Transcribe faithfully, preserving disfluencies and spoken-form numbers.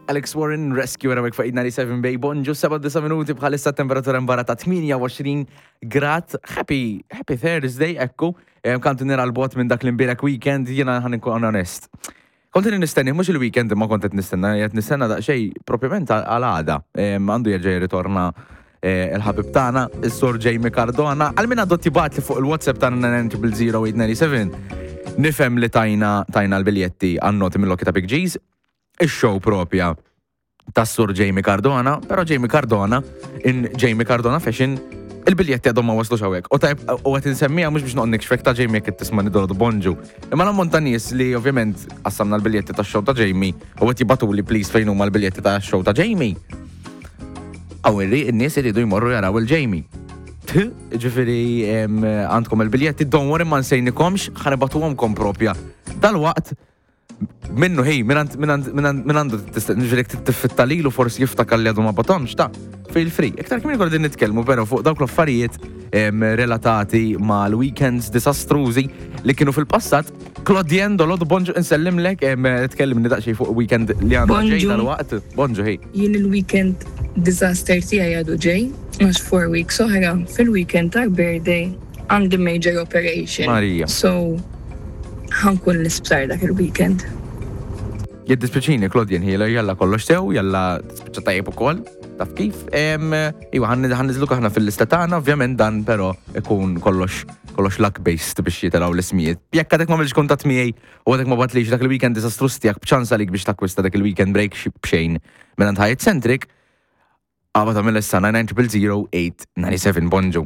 Alex Warren, Rescue hawnhekk fuq eight ninety-seven Bay. Bonġu, seba' minuti bħalissa, temperatura barra ta' tmienja u għoxrin grad. Happy, happy Thursday, ekku. Kantu nira l-bot minn dak l-imbierek weekend, jiena ħa nkun onest. Kont nistenni, mhux il-weekend ma kont qed nistenna, qed nistenna daqsxejn propjament għal għada. Għandu jerġa' jirritorna eh, il-ħabib tagħna, is-Sur Jamie Cardona. Għal min għadu tibgħatli fuq il-WhatsApp tagħna nine zero zero eight nine seven. Nifhem li tajna tajna l-biljetti għan-noti mill ta' Big G's, ix-show propja tas-Sur Jamie Cardona, però Jamie Cardona, in Jamie Cardona fashion, il-biljetti għadhom ma waslux hawnhekk. U tajb, u qed insemmija mhux biex noqgħod nikxfek ta' Jamie jekk tisma' nidordu bonġu. Imma l-ammont ta' nies li ovvjament qassamna l-biljetti tax-show ta' Jamie u qed jibagħtuli, "Please, fejn huma l-biljetti tax-show ta' Jamie?" Għaw in-nies iridu jmorru jaraw il-Jamie. Ġifieri għandkom il-biljetti, don't worry, ma nsejnikomx, ħa nibagħtuhomlkom propja dalwaqt minnu ħej, minn għandu ġifieri tiffitta lilu, forsi jiftakar li għadu ma bagħathomx ta' feel free. Iktar kmieni konna nitkellmu però fuq dawk l-affarijiet relatati mal-weekends disastrużi li kienu fil-passat. Claudien Dolod, bonġu, insellimlek, tkellimni daqsxejn fuq weekend li għandu ġej dal-waqt. Bonġu, ħej. Jien il-weekend disaster tiegħi għadu ġej, għax four weeks oħra fil-weekend ta' birthday għandi major operation. Marija. So, ħa nkun l-isptar dak il-weekend. Jiddispjaċini, Claudien, ħila jalla kollox sew, jalla tispiċċa tajjeb ukoll, taf kif. Iwa, ħa nniżżluk aħna fil-lista tagħna, ovvjament dan però ikun kollox kollox luck based biex jitilgħu l-ismijiet. Jekk għadek ma għamilx kuntatt miegħi u għadek ma bgħattlix dak il-weekend disastrus tiegħek, b'ċans għalik biex takkwista dak il-weekend break b'xejn minn Hyatt Centric, għabata mill-issa nine zero zero eight nine seven. Bonġu.